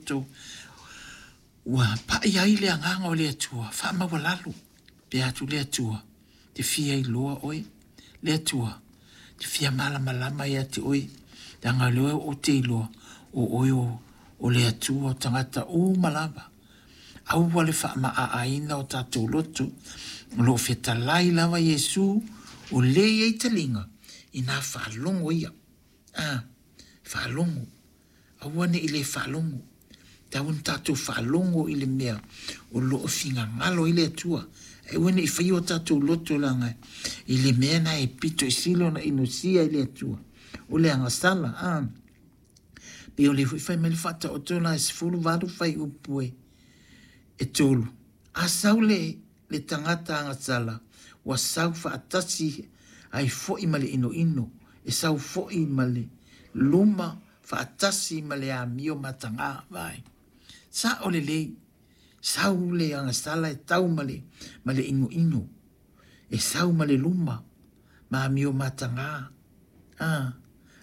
loto ua pai ai le agaga o le Atua, faamaualalo pe atu le Atua, te fia iloa oe, le Atua, te fia malamalama ia te oe, leaga o lea ou te iloa, o oe o, o le Atua o tagata uma lava. Aua le faamaaaina o tatou loto, o lo o fetalai lava Iesu, o le i ai taliga, ina faalogo ia. A, faalogo. Aua ne i le faalogo. Tau ona tatou faalogo i le mea o lo o finagalo ai le Atua. Ae aua ne i faia o tatou loto leaga i le mea na e pito i sili ona inosia i le Atua. O le agasala, a. Pei o lea foi fai mai le faataoto la e 18 fuaiupu e, e 3. A sau le le tagata agasala ua sau faatasi ai foi ma le inoino, e sau foi ma le luma faatasi ma le amio mataga. Vaai. Sa'o lelei, sau le agasala e tau ma le, ma le inoino, e sau ma le luma, ma amio mataga. Ah,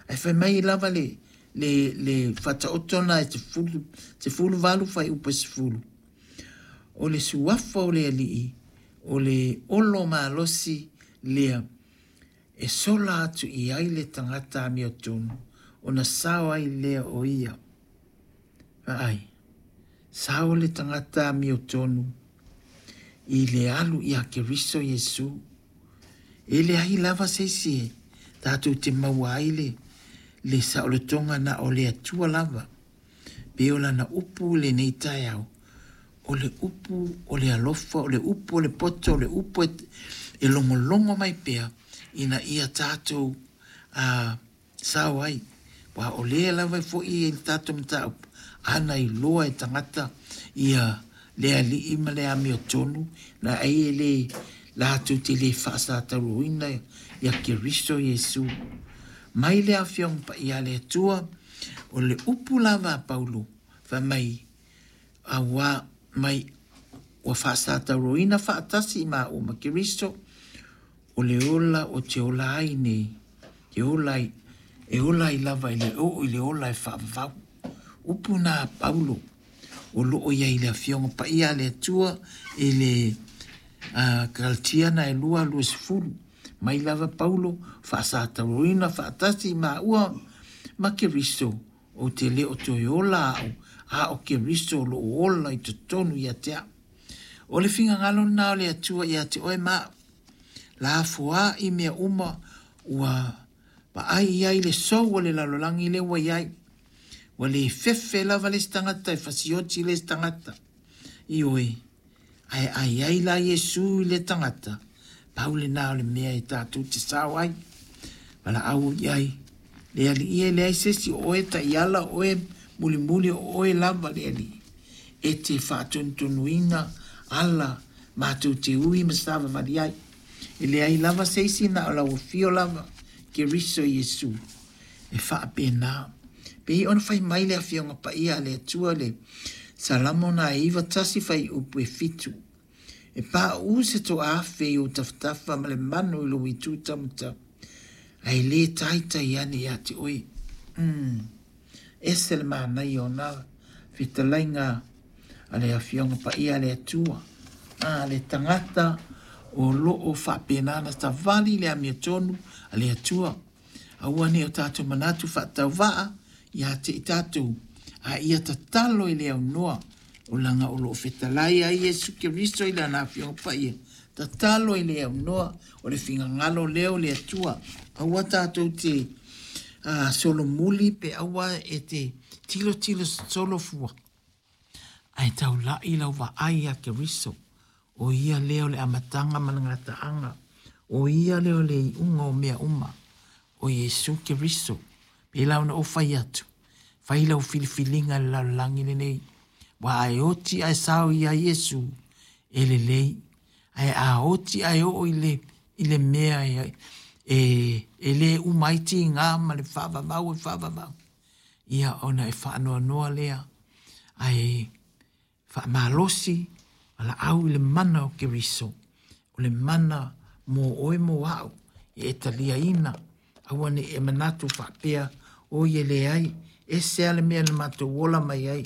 ae fai mai lava le, le, le faataoto na e 18 fuaiupu e 10. O le suafa o le Alii, o le olo malosi lea e sola atu i ai le tagata amiotonu, ona sao ai lea o ia. Vaai, sao le tagata amiotonu i le alu ia Keriso Iesu. E leai lava se isi e tatou te maua ai le, le saolotoga na o le Atua lava. Pei o lana upu i lenei taeao, o le upu o le alofa, o le upu o le poto, o le upu e, e logologo mai pea ina ia tatou a, sao ai. Ua o lea lava foi i le tatou mataupu, ana iloa e tagata ia le alii ma le amiotonu, na ai e le latou te le faasatauroina ia Keriso Iesu. Mai le Afioga Paia a le Atua, O le upu lava a Paulo, fai mai, Auā mai ua faasatauroina faatasi i māua ma Keriso, o le ola o te ola ai nei, te ola ai, e ola ai lava i le oo i le ola e faavavau. Upu na a Paulo, o loo i ai i le Afioga Paia a le Atua i le uh, Kalatiana e 2:20. Mai lava Paulo, faasatauroina faatasi i māua ma Keriso, ou te le o toe ola au, a o Keriso o loo ola i totonu ia te au. O le finagalo lena o le Atua ia te oe ma au. Lafoa'i mea uma ua vaai i ai le sou o le lalolagi lea ua i ai. Ua le fefe lava le isi tagata e fasioti le isi tagata. Ioe, ae a i ai la Iesu i le tagata, pau lena o le mea e tatou te sao ai. Valaau i ai, le Alii e leai se isi o oe taiala o oe mulimuli o oe lava le Alii. E te faatonutonuina ala matou te ui ma savavali ai. E leai lava se isi na o lau afio lava, Keriso Iesu. E faapena. Pei ona fai mai le Afioga Paia a le Atua le Salamo na e 91 fuaiupu e 7. E pauu se toaafe i ou tafatafa ma le manu i lou itu taumatau, ae le taitai ane ia te oe. Mm. Ese le manaia o nā fetalaiga a le Afioga Paia a le Atua. A le tagata o loo faapena na savali le amiotonu a le Atua. Aua ne i o tatou manatu faatauvaa ia te i tatou, a ia tatalo i le aunoa, o laga o lo o fetalai ai Iesu Keriso i Lana Afioga Paia, tatalo i le aunoa o le finagalo lea o le Atua. Aua tatou te uh, solomuli pe aua e te tilotilo solofua, ae taulai lau vaai ia Keriso, O ia lea o le amataga ma le gataaga, o ia lea o le iuga o mea uma, o Iesu Keriso. Pēlā ona ou fai atu, fai lau filifiliga i le lalolagi lenei, ua a e oti ae sao ia Iesu, e lelei, ae a oti ae oo i le, i le mea e, e, e le uma ai tigā ma le faavavau e faavavau, ia ona e faanoanoa lea, ae Faamalosi valaau i le mana o Keriso, o le mana mō oe mō a'u e e taliaina, aua ne i e manatu faapea, Oi e leai, ese a le mea na matou ola mai ai,